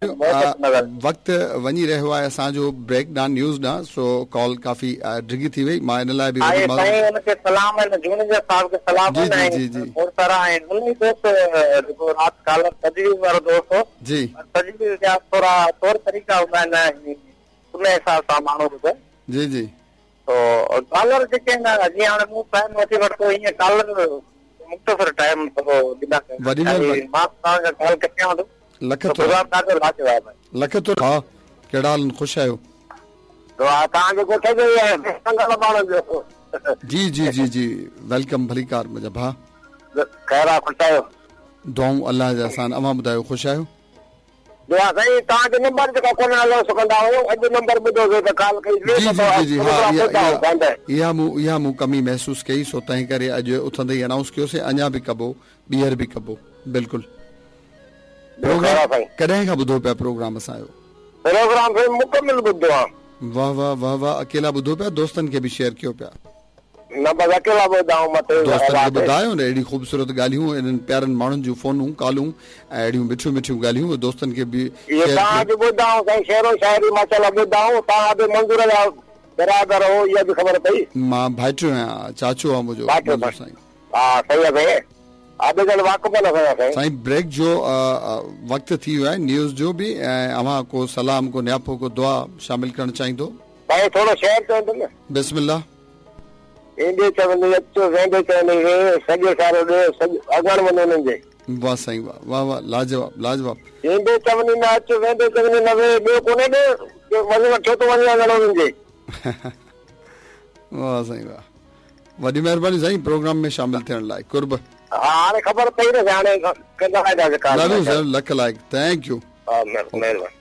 مهربانيون. وقت وڃي رهيو آهي اسان جو بريڪ ڏانهن نيوز ڏانهن سو ڪال ڪافي ڊگهي ٿي وئي مان ان لاء به وڏي معذرت. سائين ان کي سلام آهن جوڻيجا صاحب کي سلام آهن جي جي جي کوڙ سارا آهن ان ئي دوست جيڪو رات ڪالر تجويز وارو دوست هو جي تجويز جا ٿورا طور طريقا هوندا آهن ان حساب سان ماڻهو ٻڌي جي جي. تو ڪالر جيڪي آهن جيئن هاڻي مون ٽائيم وٺي ورتو ائين ڪالر مختصر ٽائيم ٿورو ڏيندا ڪيو وڏي مهرباني. مان توهان کان ڪال ڪٽيان ٿو لک ٿورا. پروگرام ڏاڍو لاجواب آهي. لک ٿورا ڀاء ڪهڙا حال آهن خوش آهيو. دعا توهان جي ڳوٺ جو ئي آهيان سنگل ماڻهن جو. جي جي جي جي welcome ڀليڪار منهنجا ڀاء. خير آ خوش آهيو. دعائون الله جا احسان اوهان ٻڌايو خوش آهيو. دعا سائين توهان جو نمبر جيڪو ڪونه انائونس ڪندا هيو اڄ نمبر ٻڌوسي ته ڪال ڪئي سي جي جي جي ها اها اها مون اها مون ڪمي محسوس ڪئي سو تنهن ڪري اڄ اٿندي ئي انائونس ڪيوسي اڃا به ڪبو ٻيهر به ڪبو بلڪل پروگرام ڪڏهن کان ٻڌو پيا پروگرام اسان جو. پروگرام سائين مڪمل ٻڌو آ. واه واه واه واه اڪيلا ٻڌو پيا دوستن کي به شيئر ڪيو پيا. نه بس اڪيلا ٻڌائون مٿي دوستن کي ٻڌايو نه اهڙي خوبصورت ڳالهيون انهن پيارن ماڻهن جون فونون ڪالون ۽ اهڙيون مٺيون مٺيون ڳالهيون دوستن کي به شيئر ڪيو. توهان به ٻڌائون سائين شعر و شاعري ماشاءالله ٻڌائون توهان به منظور جا برادر هو اها به خبر پئي. مان ڀائٽيو آهيان چاچو آ منهنجو منظور سائين. ها صحيح آ سائين ها ٻئي ڄڻ واقف نه سائين سائين. سائين بريڪ جو وقت ٿي ويو آهي نيوز جو به ۽ اوهان ڪو سلام ڪو نياپو ڪو دعا شامل ڪرڻ چاهيندو. سائين ٿورو شعر چوندم نه. بسم الله. ايندي چوندي اچ ويندي چوندي وي سڄو سارو ڏيهه سڄو اڱڻ وڃ انهن جي. واه سائين واه واه واه لاجواب لاجواب. ايندي چوندي نه اچ ويندي چوندي نه وي ٻيو ڪونهي ڏي وڃڻ ڇو ٿو وڃين اڱڻ انهن جي. واه سائين واه وڏي مهرباني سائين پروگرام ۾ شامل ٿيڻ لاء قرب. ها هاڻي خبر پئي نه هاڻي ڪندا رهنداسين call. Love you sir lakh لائق thank you. ها مهرباني.